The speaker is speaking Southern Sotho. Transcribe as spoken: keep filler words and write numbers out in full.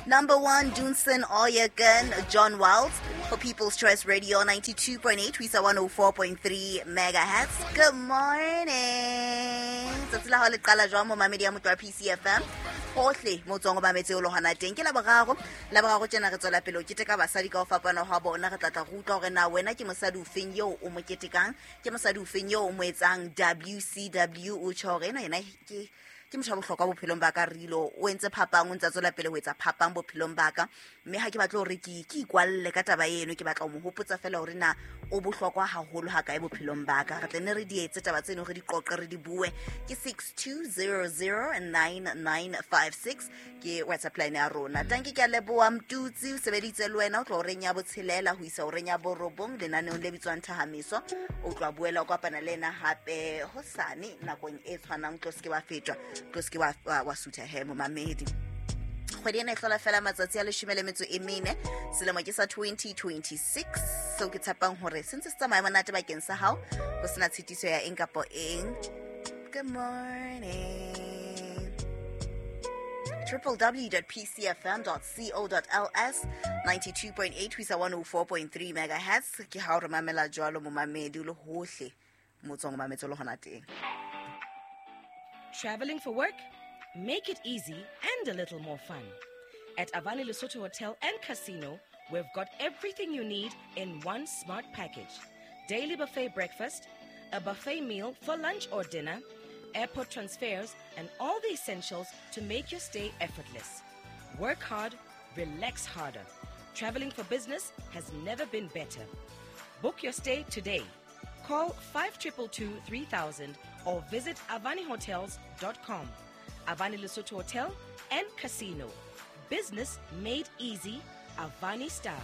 Number one, Dunsin Oyekan, John Wells for People's Choice Radio ninety-two point eight, ho isa one oh four point three megahertz. Good morning. Tsatsi la hao le qala jwang momamedi ya motho wa P C F M? Hohle mo tswang o mametse o le hona teng. Ke Laboraro. Laboraro tjena re tswela pele ho keteka basadi ka ho fapana hwa bona. Re tla tla re utlwa hore na wena ke mosadi ofeng eo o mo ketekang, ke mosadi ofeng eo o mo etsang W C W. O tjho hore ena yena ke, ke motho wa bohlokwa bophelong ba ka, Rilo. O entse phapang, o ntse a tswela pele ho etsa phapang bophelong ba ka. Mme ha ke batle hore ke, ke ikwalle ka taba eno, ke batla ho mo hopotsa fela hore na o bohlokwa haholo ha kae bophelong ba ka. Re tle ne re di etse taba tseno, re di qoqe, re di bue. Ke six two zero zero nine nine five six ke WhatsApp line ya rona. Tanki, ke a leboha Mtutsi, o sebeditse le wena o tlo horeng ya botshelela ho isa horeng ya borobong lenaneong le bitswang Thahamiso. O tlo boela o kopana le ena hape hosane nakong e tshwanang, tlo se ke wa fetwa, tlo se ke wa, wa, wa sutha he momamedi. Kgwedi ena e hlola fela matsatsi a leshome le metso e mene, selemo ke sa twenty twenty-six. Seo ke tshepang hore se ntse se tsamaya monate bakeng sa hao, ho sena tshitiso ya eng kapa eng. Good morning. triple w dot p c f m dot co dot l s, ninety-two point eight ho isa one oh four point three megahertz. Ke ha o re mamela jwalo momamedi o le hohle mo tswang o mametse le hona teng. Traveling for work? Make it easy and a little more fun. At Avani Lesotho Hotel and Casino, we've got everything you need in one smart package. Daily buffet breakfast, a buffet meal for lunch or dinner, airport transfers, and all the essentials to make your stay effortless. Work hard, relax harder. Traveling for business has never been better. Book your stay today. Call five triple two three thousand or visit avani hotels dot com. Avani Lesotho Hotel and Casino. Business made easy, Avani style.